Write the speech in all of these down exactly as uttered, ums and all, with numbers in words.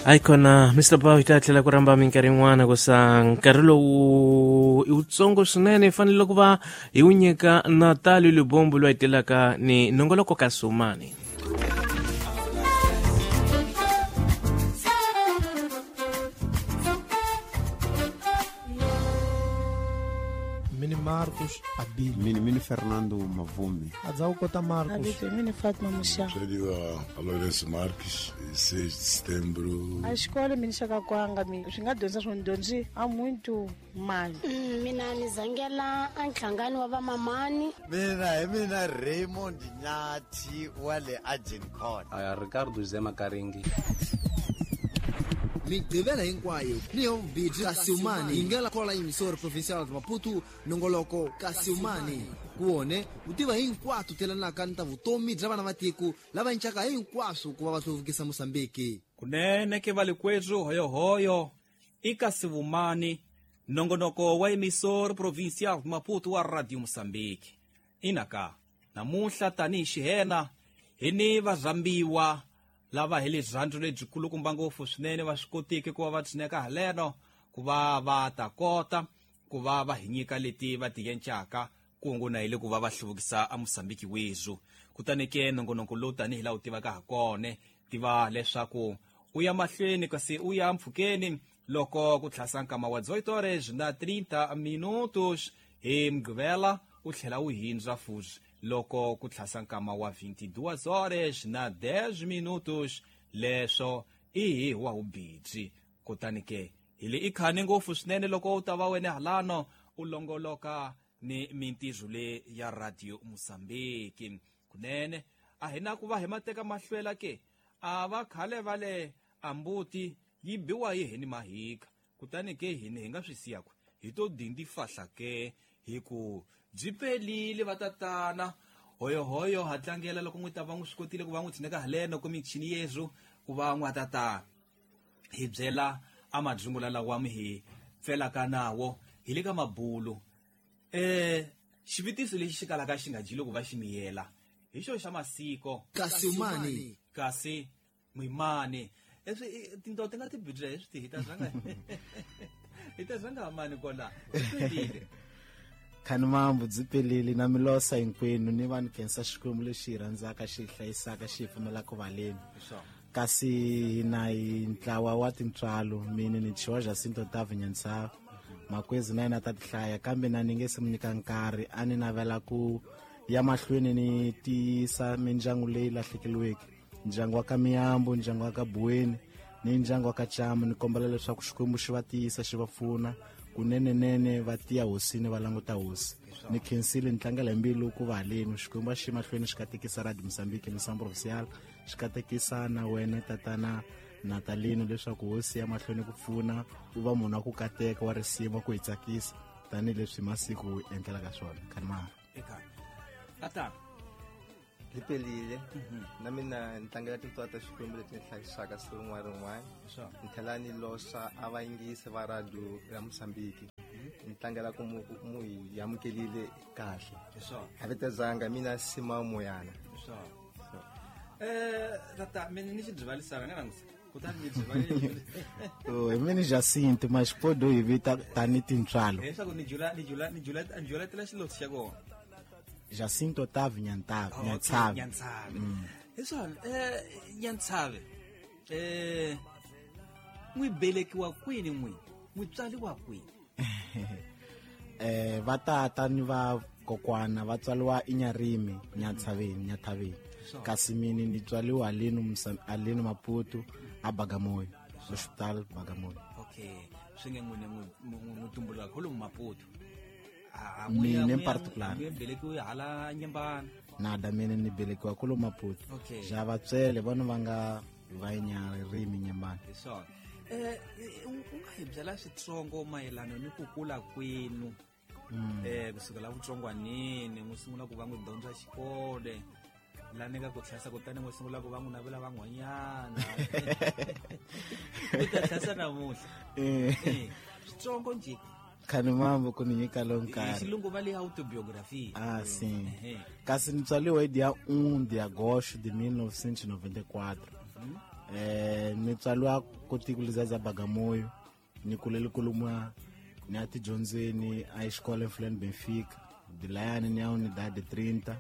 Aikona Mister Bow hi ta tlhela ku rhamba minkarhi yin'wana ku sa nkarhi lowu i wutsongo swinene hi fanele ku va hi wu nyika Natali Lubombo loyi a telaka ni nongoloko ka Sumani. Mini Marcos Abili. Mini Mini Fernando Mavumi. Adzau Kota Marcos. Abito Mini Fatma Musha. Chadiwa Lourenço Marques, seis de setembro. A escola mini chaka kwanga mi swi nga dyondza swo dyondzi a muito mali. Mina ni zangela a nhlangano wa vamamani. Mina hi mina Raymond Nyathi wa le Agincourt. Aya Ricardo Zema Karingi. Migqivela hinkwayo ni yo Kasiumani yingela kola emissora provincial de Maputo nongoloko Kasiumani kuone utiva hinkwato telanaka ni ta vutomi bya vana va tiko lava encaka hinkwaswo ku va va hluvukisa Mozambique. Kunene ke valikwethu hoyohoyo i Kasiumani nongonoko wa emissora provincial de Maputo wa Radio Mozambique. Inaka namunhla tanihi xihena hi ni varhambiwa lava hi rirhandzu lebyikulukumba ngopfu swinene va swi kotiki ku va va tshineka haleno ku va va ta kota ku va va hi nyika leti va ti yencaka kungu na hi le ku va va hluvukisa a Mozambique wethu. Kutani ke nongonoko lowu tanihi laha wu tivaka ha kona tiva leswaku u ya mahlweni kasi u ya mpfhukeni loko ku tlhasa nkama wa dezoito horas na trinta minutos hi Mugqivela u tlhela u hindza futhi loko ku tlhasa nkama wa vinte e duas horas na dez minutos leswo i hi wa hubitsi. Kutani ke hi le i khane ngopfu swinene loko u ta va wena halano u longoloka ni mintirho le ya Radio Mozambique. Kunene a hi na ku va hi mateka mahlwela ke a va khale va le ambuti yi biwa hi hini mahika. Kutani ke hini hi nga swi siya ku hi to dindi fahla ke hi ku byi pelile vatatana hoyohoyo ha tlangela loko n'wi ta va n'wi swi kotile ku va n'wi tshineka haleno ku michini yezu ku va n'wa tata hi byela a madzungula lawa mi hi pfelaka nawo hi le ka mabulu. Eh xivutiso lexi xi kalaka xi nga dyi loko va xi miyela hi xo xa masiko Kasiumani kasi mwimani leswi tinto ti nga ti bidya hi swi ti hi ta zanga hi ta zanga mani kona swi Khanimambu byi pelile na milosa hinkwenu ni vanhu khensa Xikwembu lexi hi rhandzaka xi hi hlayisaka xi hi pfumelaka valeni. Kasi hina hi ntlawa wa tintswalo mina ni Chiwa Jacinto Otávio Nyantsava makwezi na yena ta tihlaya kambe na ni nge se mu nyika nkarhi a ni navela ku ya mahlweni ni tiyisa mindyangu leyi lahlekeriweke, ndyangu wa ka Miyambo, ndyangu wa ka Buweni ni ndyangu wa ka Chamu. Ni kombela leswaku Xikwembu xi va tiyisa xi va pfuna kunenenene va tiya hosini va languta hosi. Ni khensile ni tlangela hi mbilu ku va haleni Xikwembu a xi mahlweni xi katekisa Radio Mozambique Missão Provincial xi katekisa na wena tatana Natalino leswaku hosi ya mahlweni ku pfuna u va munhu wa ku kateka wa risima ku hi tsakisa tanihileswi masiku u endlelaka swona. Khanimara eka tata byi pelile na mina ni tlangela tintswalo ta Xikwembu leti ni hlayisaka siku rin'wana rin'wana. Ni tlhela ni losa a vayingisi va radio ya Mozambique ni tlangela ku mu mu hi amukelile kahle. A vitezanga mina Sima Moyana. Eh tata mina ni xi byivalisana nga langusa kutani ni byivalile. Oh hi mina Jacinto Maxipodo hi vita tani tintswalo leswaku ni jula ni jula ni jula ni julatela xilotsi xa kona Jacinto Otávio Nyantsave. Nyantsave. Nyantsave. Hiswona eh Nyantsave. Eh n'wi belekiwa kwini n'wi? N'wi tswariwa kwini? Eh va tata ni va kokwana va tswariwa eNyarimi, Nyantsaveni, Nyathaveni. Kasi mina ni tswariwa haleni haleni Maputo a Bagamoyo, Hospital Bagamoyo. Okay. Swi nge n'wina n'wi tumbuluka kholomu Maputo. Mina in particular ni belekiwe hala Nyembana. Nada mina ni belekiwa kulo Maputo. Ja vatswele vona va nga va Nyarimi Nyembana. Hi swona. Eh u nga hi byela switsongo mayelana ni ku kula kwenu eh kusukela vutsongwanini n'wi sungula ku va n'wi dyondza xikolo la ni nga ku tlhasa kutani n'wi sungula ku va n'wi navela van'wanyana u ta tlhasa namuntlha eh switsongo njhe. Khanimambu ku ni nyika lo nkarhi. Xilungu va le autobiography. Ah sim. Kasi ni tswariwe hi dia um de agosto de mil novecentos e noventa e quatro. Eh, Ni tswaliwa kotiko lizaza Bagamoyo, ni kulele kulumwa ni ati dyondzweni a xikolo Mfuleni Benfica, dilayani ni ya unidade trinta,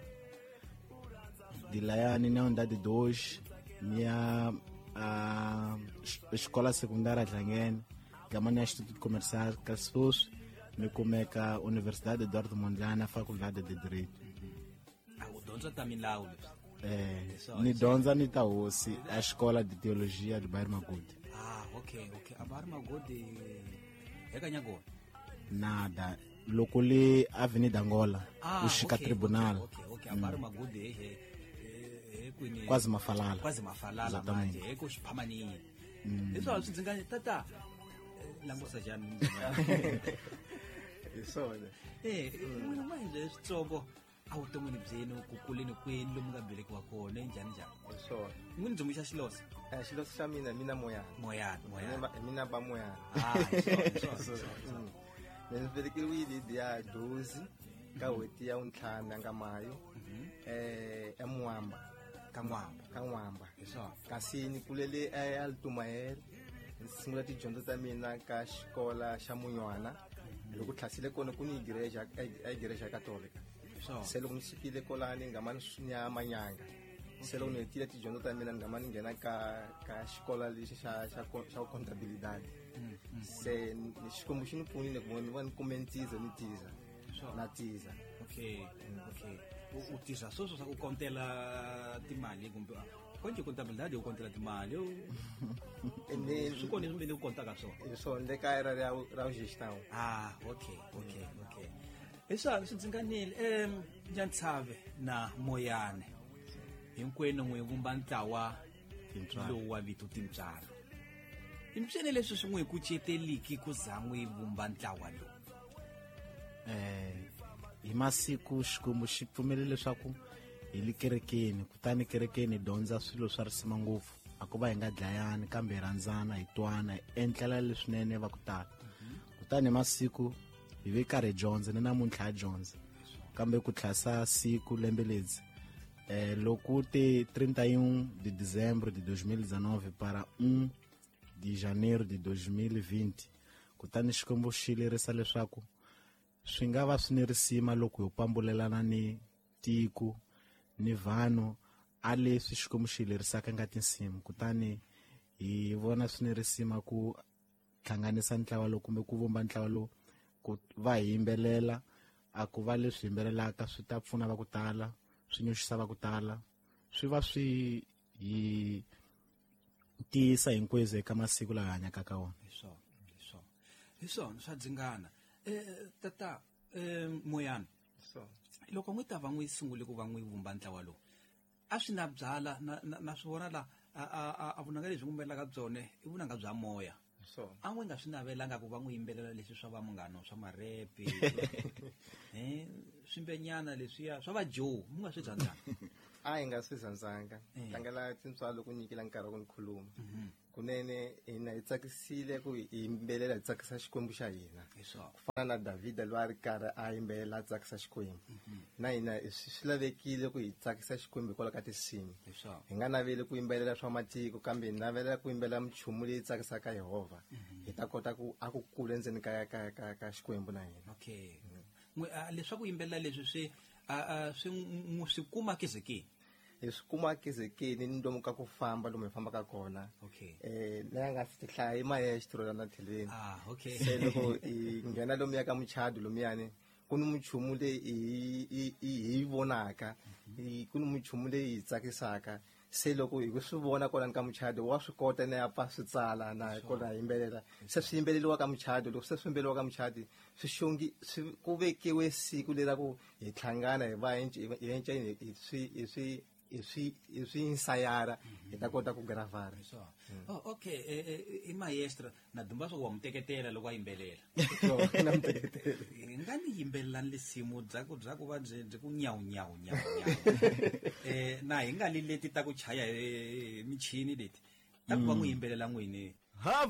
dilayani ni ya unidade dois, ni ya a escola secundária Dlangene, gama ni ya Instituto Comercial Cassus, ni kumeka Universidade Eduardo Mondlane, Faculdade de Direito. Ah, u dyondza ta milawu leswi? Eh, ni dyondza ni ta hosi a escola de teologia de Bairro Magude. Ah, okay, okay. A Bairro Magude eka Nyangoni? Nada, loko le Avenida Angola, ah, u xika okay, tribunal. Okay, okay, okay. A Bairro Magude he he kwini Kwazi Mafalala. Kwazi Mafalala manje, he ku xiphamanini. Leswi swi ndzi nga tata langusa njhani? Hi swona. Eh, n'wina manje switsongo a vuton'wini byenu ku kuleni kwenu lomu nga velekiwa kona njhani njhani? Hi swona. N'wini byi muxa xiloso? Eh, xiloso xa mina mina Moyana. Moyana, Moyana. Mina ba Moyana. Ah, hi swona, hi swona, hi swona. Mina velekiwile hi ya doze ka n'hweti ya ntlhanu nga mayo. Eh, eMwamba. Ka Mwamba. Ka Mwamba. Hi swona. Kasi ni kulele eAltumael. Ni sungula tidyondzo ta mina ka xikola xa Munywana. Loko tlhasile kona ku ni igreja, a igreja katolika. Se loko ni sukile kolani ni ngama ni ya Manyanga. Se loko ni hetile tidyondzo ta mina ni ngama ni nghena ka ka xikola lexi xa xa xa contabilidade. Se Xikwembu xi ni pfunile ku ni va ni kume ntiza ni tiza. Na tiza. Okay, okay. U tiza sweswo swa ku kontela timali kumbe konje contabilidade u kontela timali. Ene swi kona leswi mi ku kontaka swona. Hi swona le kaya ra ra gestão. Ah, okay, okay, okay. Leswi swi ndzinganile em Nyantsave na Moyane hinkwenu n'wi vumba ntlawa lowu wa vito Tintswalo. Impyene leswi swi n'wi kuceteliki ku za n'wi vumba ntlawa lowu? Eh, hi masiku Xikwembu xi pfumele leswaku hi le kerekeni, kutani kerekeni hi dyondza swilo swa risima ngopfu. A ku va hi nga dlayani kambe hi rhandzana, hi twana, hi endlela leswinene va ku tala. Kutani hi masiku hi ve karhi hi dyondza, ni namuntlha ha dyondza. Kambe ku tlhasa siku lembe ledzi, eh, loko te trinta e um de dezembro de dois mil e dezenove para um de janeiro de dois mil e vinte, kutani Xikwembu xi lerisa leswaku swi nga va swi ni risima loko hi pambulelana ni tiko ni vanhu a leswi Xikwembu xi lerisaka nga tinsimu. Kutani hi vona swi ni risima ku hlanganisa ntlawa lowu kumbe ku vumba ntlawa lowu ku va hi yimbelela. A ku va leswi yimbelelaka swi ta pfuna va ku tala, swi nyoxisa va ku tala, swi va swi hi tiyisa hinkwenu eka masiku lawa hi hanyaka ka wona. Hi swona, hi swona, hi swona swa dzingana. Eh, tata eh, Moyana, loko n'wi ta va n'wi sungule ku va n'wi vumba ntlawa lowu, a swi na byala na na swi vona la a a a vunanga lebyi ngumbelaka byone i vunanga bya moya. A n'wi nga swi navelanga ku va n'wi yimbelela leswi swa va munghano swa marepe eh swimbenyana leswiya swa va Joe, mi nga swi rhandzanga? A hi nga swi rhandzanga. Tlangela tintswalo ku nyikela nkarhi wa ku ni khuluma. Kunene hina hi tsakisile ku hi yimbelela hi tsakisa Xikwembu xa hina. Ku fana na Davhida loyi a ri karhi a yimbelela a tsakisa Xikwembu. Na hina swi lavekile ku hi tsakisa Xikwembu hikwalaho ka tinsimu. Hi nga naveli ku yimbelela swa matiko kambe hi navelela ku yimbelela minchumu leyi tsakisaka Yehovha. Hi ta kota ku a ku kula endzeni ka ka ka ka Xikwembu na hina. Okay. Leswaku yimbelela leswi swi swi swi kuma kezekeni? Hi swi kuma kezekeni ni lomu ka ku famba lomu hi fambaka kona. Okay. Eh, na nga fi hlaya i maestro la na tlhelweni. Ah, okay. Se loko hi nghena lomu ya ka muchado lomuyani, ku ni minchumu leyi hi hi hi vonaka, ku ni minchumu leyi hi tsakisaka. Se loko hi ku swi vona kwalani ka muchado wa swi kota na ya pfa swi tsala na kona yimbelela. Se swi yimbeleliwa ka muchado, loko se swi yimbeleliwa ka muchado swi xongi swi ku vekiwe siku leri ku hi hlangana hi va hi enca hi swi hi swi hi swi hi swi ensayara hi ta kota ku gravara. Oh, okay. I maestro na dumba swa wa muteketela loko a yimbelela. Na muteketela. Nga ni yimbelelani lisimu bya ku bya ku va byi byi ku nyawu nyawu nyawu nyawu. Eh, na hi nga li leti ta ku chaya hi michini leti. Ta ku va n'wi yimbelela n'wini. Hava